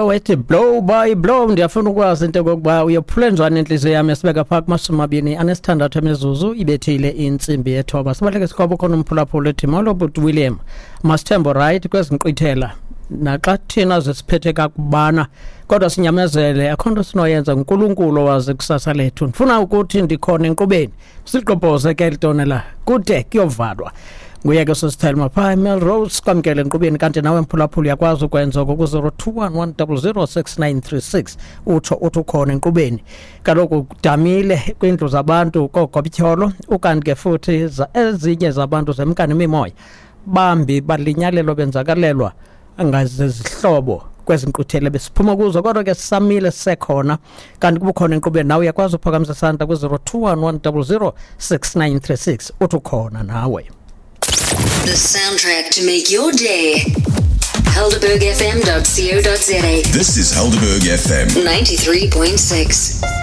Wethi blow by blow. Ndiyafuna ukwazi into yokokuba uyophule njani intliziyo yam. Esibeka phaa kuma-26 emizuzu ibethile intsimbi yethoba. Sibaleke sikwabo khona umphulaphula ethi molo bhuti William, masithembo right kwezi nkqwithela, naxa thina zisiphethe kakubana kodwa sinyamezele, akho nto sinoyenza, nguNkulunkulu owazi kusasa lethu. Ndifuna ukuthi ndikhona enkqubeni, siligqobhoze ke litonela kude kuyovalwa. Nguye ke sosithelma phaa eMelrose, kwamkele enkqubeni. Kanti nawe mphulaphula uyakwazi ukwenza oko ku-021 100 6936, utsho uthi ukhona enkqubeni. Kaloku kudamile kwiindlu zabantu koogobityholo, ukanti ke futhi ezinye zabantu zemka nemimoya, bambi balinyalelwa benzakalelwa ngazezihlobo kwezi nkquthele besiphuma kuzo, kodwa ke sisamile sisekhona. Kanti kubukhona enkqubeni nawe uyakwazi uphakamisa isandla ku-021 100 6936, uthi ukhona nawe. The soundtrack to make your day. HelderbergFM.co.za. This is Helderberg FM. 93.6.